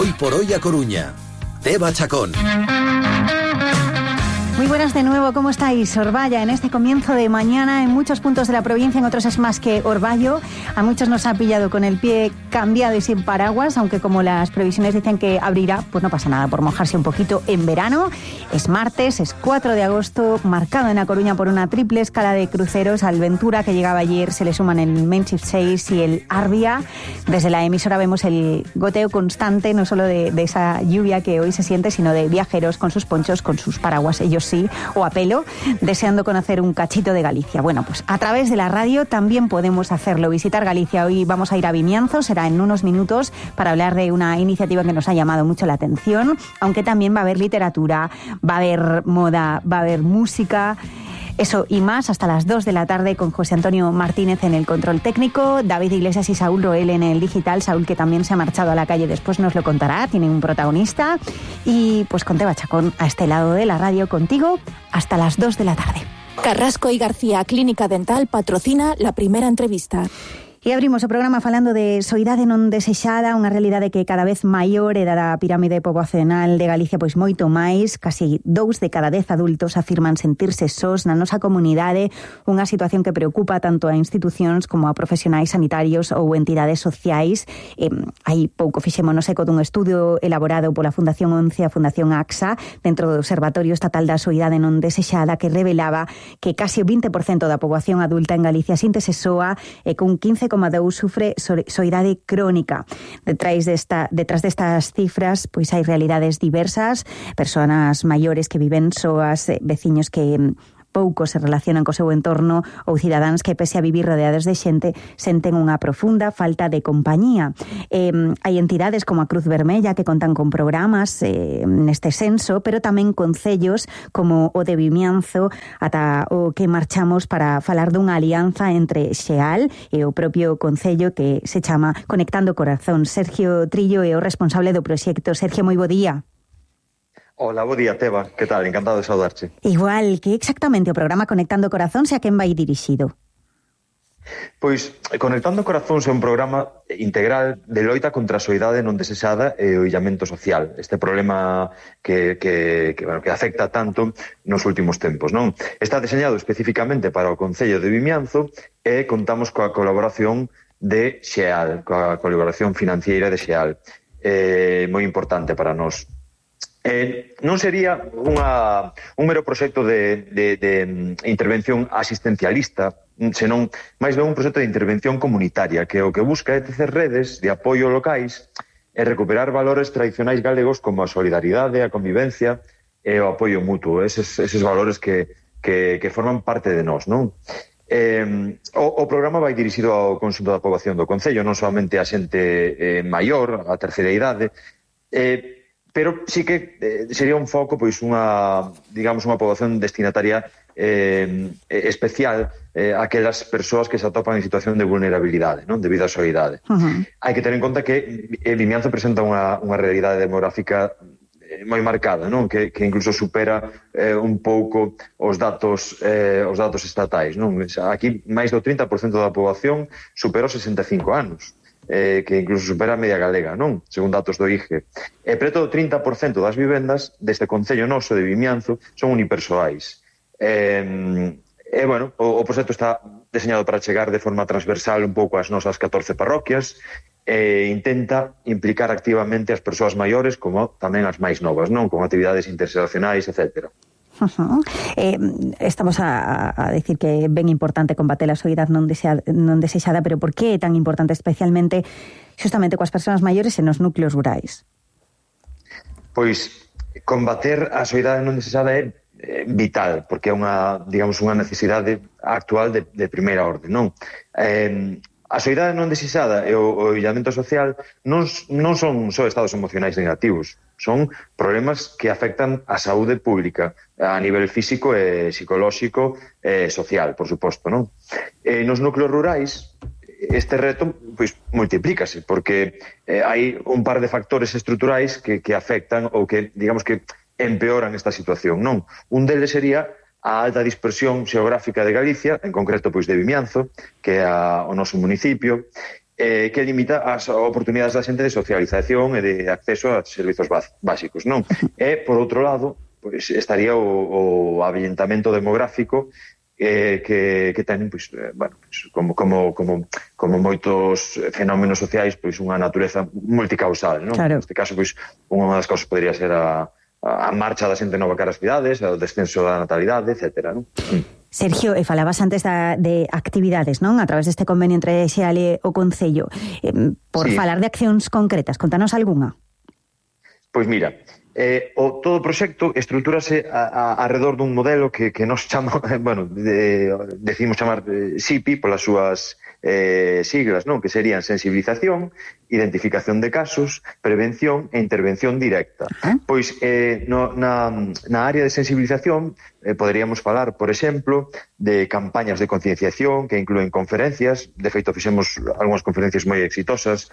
Hoy por hoy a Coruña. Teba Chacón. Muy buenas de nuevo, ¿cómo estáis? Orballa, en este comienzo de mañana, en muchos puntos de la provincia, en otros es más que orvallo. A muchos nos ha pillado con el pie cambiado y sin paraguas, aunque como las previsiones dicen que abrirá, pues no pasa nada por mojarse un poquito en verano. Es martes, es 4 de agosto, marcado en A Coruña por una triple escala de cruceros. Al Ventura, que llegaba ayer, se le suman el Menchif 6 y el Arbia. Desde la emisora vemos el goteo constante, no solo de esa lluvia que hoy se siente, sino de viajeros con sus ponchos, con sus paraguas, ellos sí, o a pelo, deseando conocer un cachito de Galicia. Bueno, pues a través de la radio también podemos hacerlo, visitar Galicia. Hoy vamos a ir a Vimianzo, será en unos minutos, para hablar de una iniciativa que nos ha llamado mucho la atención, aunque también va a haber literatura, va a haber moda, va a haber música. Eso y más hasta las 2 de la tarde con José Antonio Martínez en el control técnico, David Iglesias y Saúl Roel en el digital. Saúl, que también se ha marchado a la calle, después nos lo contará, tiene un protagonista. Y pues con Teba Chacón a este lado de la radio contigo hasta las 2 de la tarde. Carrasco y García Clínica Dental patrocina la primera entrevista. E abrimos o programa falando de soidade non desexada, unha realidade que cada vez maior e da pirámide poboacional de Galicia pois moito máis. Casi 2 de cada 10 adultos afirman sentirse sós na nosa comunidade, unha situación que preocupa tanto a institucións como a profesionais sanitarios ou entidades sociais. Hai pouco fixémonos eco dun estudio elaborado pola Fundación 11 a Fundación AXA dentro do Observatorio Estatal da Soidade non desexada, que revelaba que casi o 20% da poboación adulta en Galicia síntese soa e cun 15,2 sufre soidade crónica. Detrás destas cifras, pois hai realidades diversas, persoas maiores que viven soas, veciños que pouco se relacionan co seu entorno ou cidadáns que, pese a vivir rodeados de xente, senten unha profunda falta de compañía. Hai entidades como a Cruz Vermella que contan con programas neste senso, pero tamén concellos como o de Vimianzo, ata o que marchamos para falar dunha alianza entre Xeal e o propio concello que se chama Conectando Corazón. Sergio Trillo é o responsable do proxecto. Sergio, moi bo día. Hola, bo día, Teba. Que tal? Encantado de saudarte. Igual, que exactamente o programa Conectando Corazóns e a quen vai dirixido? Pois, Conectando Corazóns é un programa integral de loita contra a soidade non desexada e o illamento social. Este problema que afecta tanto nos últimos tempos, non? Está deseñado especificamente para o Concello de Vimianzo e contamos coa colaboración de Xeal, coa colaboración financiera de Xeal. Moi importante para nós. Non sería un mero proxecto de intervención asistencialista, senón máis ben un proxecto de intervención comunitaria, que o que busca é tecer redes de apoio locais e recuperar valores tradicionais galegos como a solidaridade, a convivencia e o apoio mutuo, eses valores que forman parte de nós, non? O programa vai dirixido ao conxunto da poboación do Concello, non somente a xente maior, a terceira idade, pero sí que sería un foco, pois unha poboación destinataria especial aquelas persoas que se atopan en situación de vulnerabilidade, non, debido á soidade. Hai que ter en conta que Vimianzo presenta unha realidade demográfica moi marcada, non? Que incluso supera un pouco os datos estatais, non? Aquí máis do 30% da poboación supera os 65 anos. Que incluso supera a media galega, non? Según datos do IGE. E preto do 30% das vivendas deste concello noso de Vimianzo son unipersoais. Bueno, o proxecto está deseñado para chegar de forma transversal un pouco ás nosas 14 parroquias e intenta implicar activamente as persoas maiores como tamén as máis novas, non? Con actividades interseccionais, etcétera. Estamos a decir que é ben importante combater a soidade non desexada, pero por que é tan importante especialmente justamente coas persoas maiores e nos núcleos rurais? Pois combater a soidade non desexada é vital, porque é unha necesidade actual de primeira orde, non? A soidade non desexada e o illamento social non son só estados emocionais negativos, son problemas que afectan a saúde pública a nivel físico e psicolóxico e social, por suposto, non? Nos núcleos rurais este reto pois multiplícase, porque hai un par de factores estruturais que afectan ou que, digamos que, empeoran esta situación, non? Un deles sería a alta dispersión xeográfica de Galicia, en concreto pois de Vimianzo, que é o noso municipio, que limita as oportunidades da xente de socialización e de acceso a servizos básicos, non? E, por outro lado, pois, estaría o avellentamento demográfico que ten, pois, bueno, pois, como moitos fenómenos sociais, pois unha natureza multicausal, non? Claro. Neste caso, pois, unha das causas podría ser a marcha da xente nova cara ás cidades, o descenso da natalidade, etcétera, non? Sergio, falabas antes de actividades, non? A través deste convenio entre Xeal e o Concello. Por falar de accións concretas, contanos algunha. Pois mira, todo o proxecto estruturase alrededor dun modelo que nos chama, bueno, decidimos chamar SIPI polas súas siglas, non? Que serían sensibilización, identificación de casos, prevención e intervención directa. Pois na área de sensibilización poderíamos falar, por exemplo, de campañas de concienciación que incluen conferencias. De feito, fixemos algunhas conferencias moi exitosas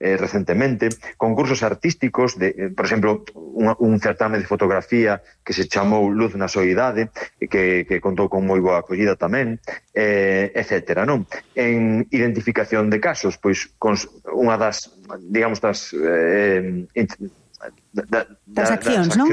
recentemente, concursos artísticos, por exemplo, un certame de fotografía que se chamou Luz na Soidade, que contou con moi boa acollida tamén, etcétera, non? En identificación de casos, pois unha das, digamos, das accións, non?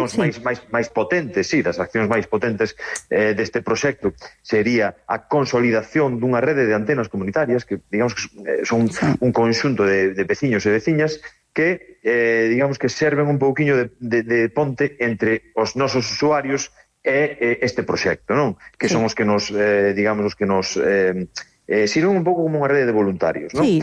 máis potentes, das accións máis potentes deste proxecto sería a consolidación dunha rede de antenas comunitarias que, digamos, que son un conxunto de veciños e veciñas que, digamos, que serven un pouquiño de ponte entre os nosos usuarios e este proxecto, non? Que son os que nos, digamos, os que nos sirven un pouco como unha rede de voluntarios, non? Sí.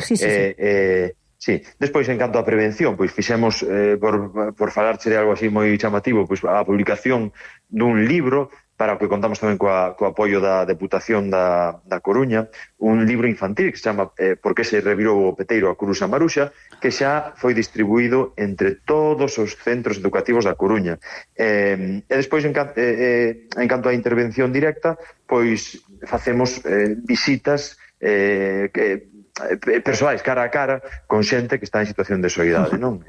Sí, despois, en canto á prevención, pois fixemos, por falarche de algo así moi chamativo, pois a publicación dun libro para o que contamos tamén co apoio da Deputación da Coruña, un libro infantil que se chama Por que se revirou o peteiro a Curuxa Maruxa, que xa foi distribuído entre todos os centros educativos da Coruña. E despois, en canto á intervención directa, pois facemos visitas persoais cara a cara con xente que está en situación de soidade, non?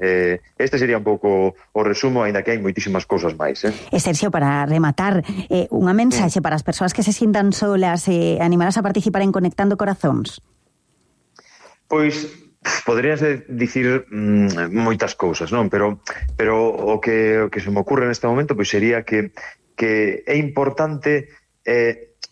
Este sería un pouco o resumo, aínda que hai moitísimas cousas máis. E Sergio, para rematar, unha mensaxe para as persoas que se sintan solas e animadas a participar en Conectando Corazóns. Pois poderíase dicir moitas cousas, non? Pero o que se me ocurre neste momento pois sería que é importante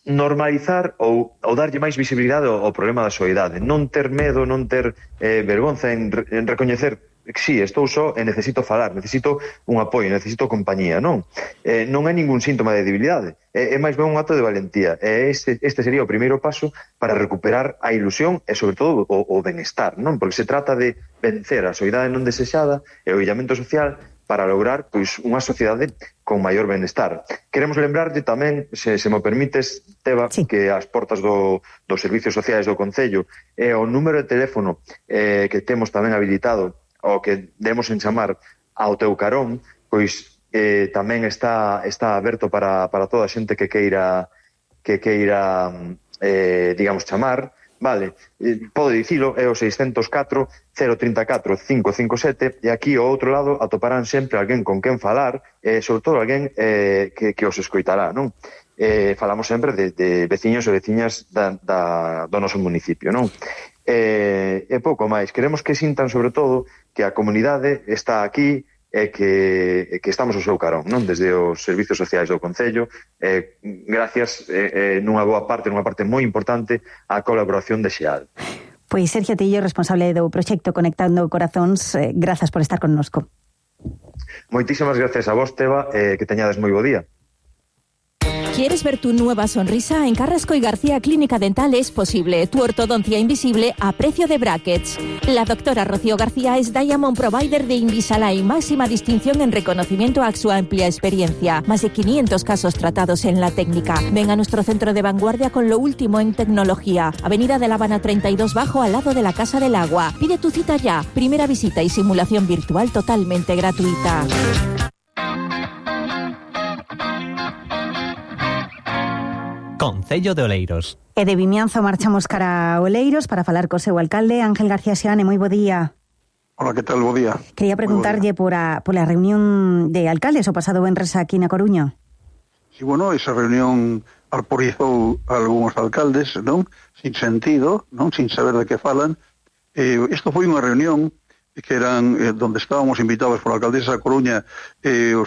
normalizar ou darlle máis visibilidade ao problema da soidade, non ter medo, non ter vergonza en recoñecer que sí, estou só e necesito falar, necesito un apoio, necesito compañía, non? Non é ningún síntoma de debilidade, é máis ben un acto de valentía, e este sería o primeiro paso para recuperar a ilusión e, sobre todo, o benestar, non? Porque se trata de vencer a soidade non desexada e o illamento social para lograr, pois, unha sociedade con maior benestar. Queremos lembrarlle tamén, se me permites, Teba, que as portas dos servicios sociais do Concello e o número de teléfono que temos tamén habilitado, o que demos en chamar ao teu carón, pois tamén está aberto para toda a xente que queira digamos, chamar. Vale, podo dicilo, é o 604 034 557, e aquí ao outro lado atoparán sempre alguén con quen falar, e sobre todo alguén que os escoitará, non? Falamos sempre de veciños e veciñas do noso municipio, non? E pouco máis, queremos que sintan sobre todo que a comunidade está aquí e que estamos ao seu carón, non? Desde os servicios sociais do Concello, gracias nunha parte moi importante á colaboración de Xeal. Pois Sergio Tillo, responsable do proxecto Conectando Corazóns, grazas por estar connosco. Moitísimas gracias a vos, Teba, que teñades moi bo día. ¿Quieres ver tu nueva sonrisa? En Carrasco y García Clínica Dental es posible. Tu ortodoncia invisible a precio de brackets. La doctora Rocío García es Diamond Provider de Invisalign, máxima distinción en reconocimiento a su amplia experiencia. Más de 500 casos tratados en la técnica. Ven a nuestro centro de vanguardia con lo último en tecnología. Avenida de La Habana 32 Bajo, al lado de la Casa del Agua. Pide tu cita ya. Primera visita y simulación virtual totalmente gratuita. Concello de Oleiros. E de Vimianzo marchamos cara a Oleiros para falar co seu alcalde, Ángel García Seane. Moi bo día. Hola, que tal? Bo día. Quería preguntarlle pola reunión de alcaldes o pasado venres aquí na Coruña. Sí, bueno, esa reunión alporizou algúns alcaldes, non? Sin sentido, non? Sin saber de que falan. Isto foi unha reunión que eran donde estábamos invitados por a alcaldesa da Coruña,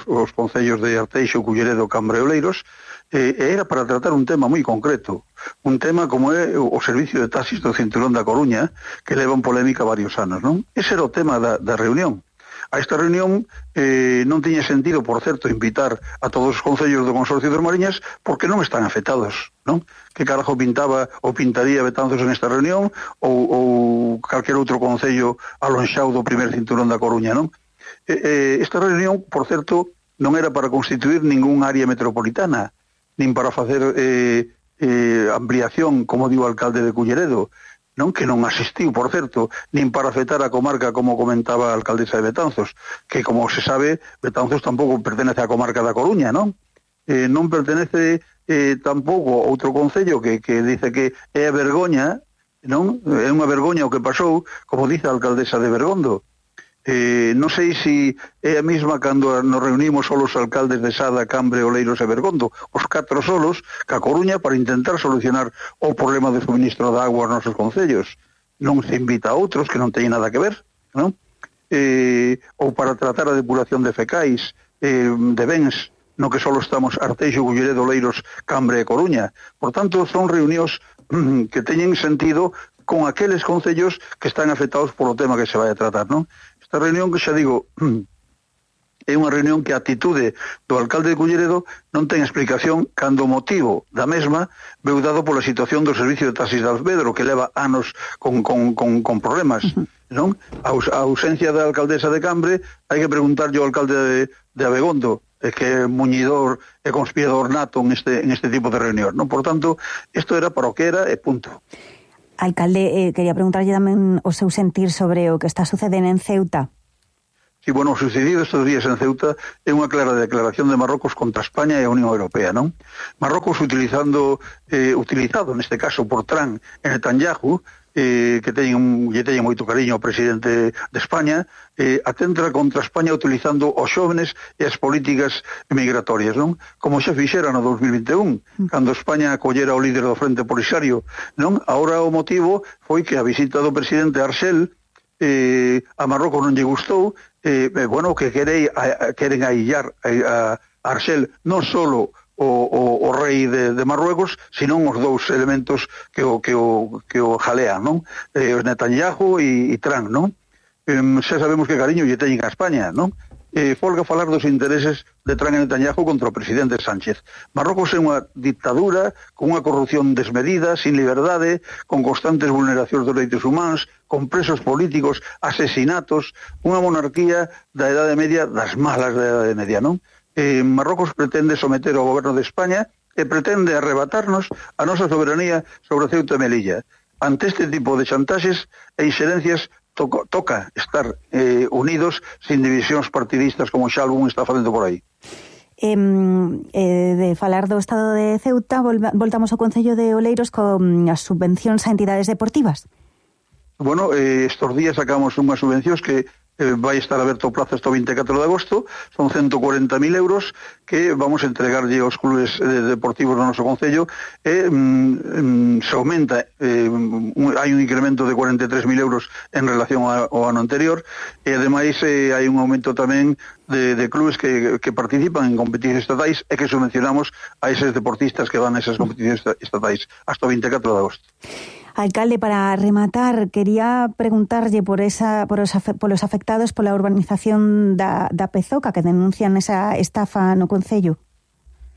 os concellos de Arteixo, Culleredo, Cambre e Oleiros, era para tratar un tema moi concreto, un tema como é o servicio de taxis do Cinturón da Coruña, que leva en polémica varios anos, non? Ese era o tema da reunión. A esta reunión non tiña sentido, por certo, invitar a todos os concellos do Consorcio das Mariñas porque non están afectados, non? Que carajo pintaba ou pintaría Betanzos en esta reunión ou calquer outro concello alonxado do primer cinturón da Coruña, non? Esta reunión, por certo, non era para constituir ningún área metropolitana, nin para facer ampliación, como diu o alcalde de Culleredo, non, que non asistiu, por certo, nin para afectar a comarca, como comentaba a alcaldesa de Betanzos, que, como se sabe, Betanzos tampouco pertenece á comarca da Coruña, non? Non pertenece tampouco a outro concello que dice que é a vergoña, non? É unha vergoña o que pasou, como dice a alcaldesa de Bergondo. Non sei se é a mesma cando nos reunimos solos alcaldes de Sada, Cambre, Oleiros e Bergondo, os 4 solos, ca Coruña, para intentar solucionar o problema de suministro de agua aos nosos concellos. Non se invita a outros que non teñen nada que ver, non? Ou para tratar a depuración de fecais, de bens, no que solo estamos Arteixo, Culleredo, Oleiros, Cambre e Coruña. Por tanto, son reunións que teñen sentido con aqueles concellos que están afectados polo tema que se vai a tratar, non? Esta reunión, que xa digo, é unha reunión que a atitude do alcalde de Culleredo non ten explicación cando o motivo da mesma veu dado pola situación do servicio de taxis de Alvedro, que leva anos con problemas, non? A ausencia da alcaldesa de Cambre, hai que preguntarlle ao alcalde de Abegondo, que é muñidor e conspirador nato en este tipo de reunión, non? Por tanto, isto era para o que era e punto. Alcalde, quería preguntarlle tamén o seu sentir sobre o que está sucedendo en Ceuta. Sí, bueno, o sucedido estes días en Ceuta é unha clara declaración de Marrocos contra España e a Unión Europea, non? Marrocos utilizado neste caso por Trump e Netanyahu, que lle teñen moito cariño ao presidente de España, atenta contra España utilizando os xóvenes e as políticas migratorias, non? Como xa fixera no 2021, cando España acollera o líder do Frente Polisario, non? Agora o motivo foi que a visita do presidente Arxel a Marrocos non lle gustou, bueno, que queren aillar a Arxel non solo o rei de Marruecos, senón os dous elementos que o jalean, non? Os Netanyahu e Trump, non? Xa sabemos que cariño lle teñen a España, non? Folga falar dos intereses de Trump e Netanyahu contra o presidente Sánchez. Marrocos é unha dictadura con unha corrupción desmedida, sin liberdade, con constantes vulneracións dos dereitos humanos, con presos políticos, asesinatos, unha monarquía da Edade Media, das malas da Edade Media, non? Marrocos pretende someter ao goberno de España e pretende arrebatarnos a nosa soberanía sobre Ceuta e Melilla. Ante este tipo de chantaxes e inxerencias toca estar unidos sin divisións partidistas como xa algún está facendo por aí. De falar do estado de Ceuta, voltamos ao Concello de Oleiros con as subvencións a entidades deportivas. Bueno, estos días sacamos unhas subvencións que vai estar aberto o plazo hasta o 24 de agosto, son 140.000 euros que vamos a entregarlle aos clubes deportivos do noso concello e se aumenta, hai un incremento de 43.000 euros en relación ao ano anterior e ademais hai un aumento tamén de clubes que participan en competicións estatais e que subvencionamos a eses deportistas que van a esas competicións estatais hasta o 24 de agosto. Alcalde, para rematar, quería preguntarlle por los afectados pola urbanización da Pezoca, que denuncian esa estafa no Concello.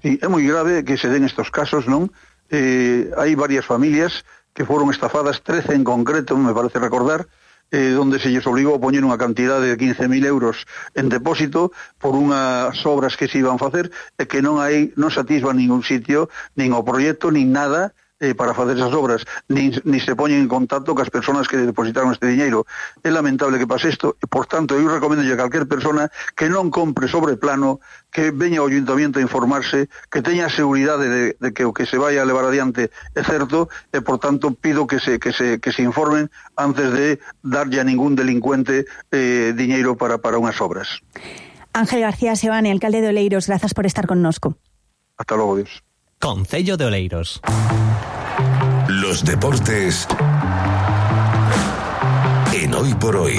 Sí, é moi grave que se den estos casos, non? Hai varias familias que foron estafadas, 13 en concreto, me parece recordar, donde se lles obligou a poñer unha cantidad de 15.000 euros en depósito por unhas obras que se iban a facer e que non se atisba ningún sitio, nin o proxecto, nin nada, para facer esas obras, ni se poñen en contacto cas persoas que depositaron este diñeiro. É lamentable que pase isto, e, por tanto, eu recomendo a calquer persona que non compre sobre plano, que veña ao Ayuntamiento a informarse, que teña a seguridade de que o que se vai a levar adiante é certo, e, por tanto, pido que se informen antes de darlle a ningún delincuente diñeiro para unhas obras. Ángel García Sebane, alcalde de Oleiros, grazas por estar connosco. Hasta logo, Dios. Concello de Oleiros. Los deportes en Hoy por Hoy.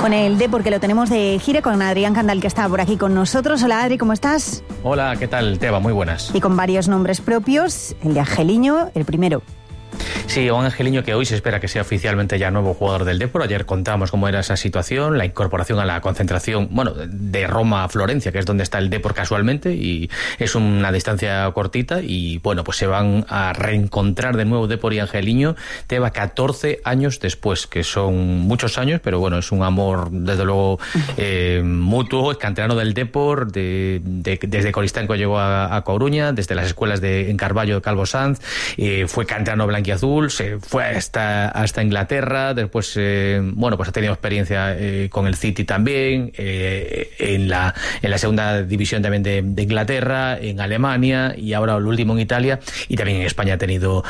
Con el Depor, que lo tenemos de gira, con Adrián Candal, que está por aquí con nosotros. Hola, Adri, ¿cómo estás? Hola, ¿qué tal, Teba? Muy buenas. Y con varios nombres propios, el de Angeliño, el primero. Sí, un Angeliño que hoy se espera que sea oficialmente ya nuevo jugador del Depor. Ayer contamos cómo era esa situación, la incorporación a la concentración, de Roma a Florencia, que es donde está el Depor casualmente, y es una distancia cortita, y pues se van a reencontrar de nuevo Depor y Angeliño, Teba, 14 años después, que son muchos años, pero es un amor, desde luego, mutuo. Es canterano del Depor, desde Coristanco llegó a Coruña, desde las escuelas en Carballo de Calvo Sanz, fue canterano blanquiazul, se fue hasta Inglaterra, después ha tenido experiencia con el City también, en la segunda división también de Inglaterra, en Alemania, y ahora el último en Italia, y también en España ha tenido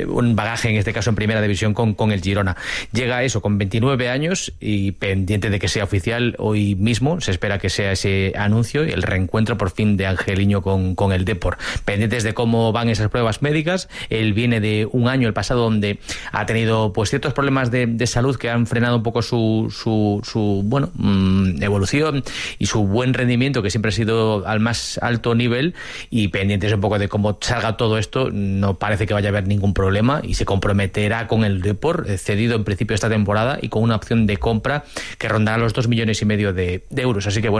un bagaje, en este caso en primera división con el Girona. Llega eso con 29 años y pendiente de que sea oficial. Hoy mismo se espera que sea ese anuncio y el reencuentro por fin de Angeliño con el Depor. Pendientes de cómo van esas pruebas médicas. Él viene de un año, el pasado, donde ha tenido ciertos problemas de salud que han frenado un poco su evolución y su buen rendimiento, que siempre ha sido al más alto nivel, y pendientes un poco de cómo salga todo esto. No parece que vaya a haber ningún problema y se comprometerá con el Depor, cedido en principio esta temporada y con una opción de compra que rondará los 2,5 millones de euros. Así que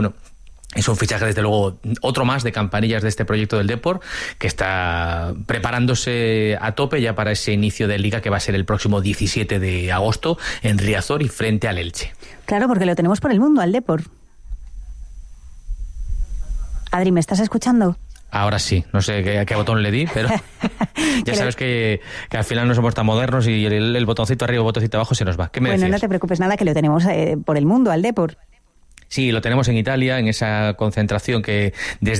es un fichaje, desde luego, otro más de campanillas de este proyecto del Depor, que está preparándose a tope ya para ese inicio de Liga, que va a ser el próximo 17 de agosto en Riazor y frente al Elche. Claro, porque lo tenemos por el mundo, al Depor. Adri, ¿me estás escuchando? Ahora sí, no sé qué botón le di, pero ya sabes que al final no somos tan modernos y el botoncito arriba, el botoncito abajo se nos va. ¿Qué me decías? No te preocupes nada, que lo tenemos por el mundo, al Depor. Sí, lo tenemos en Italia, en esa concentración que desde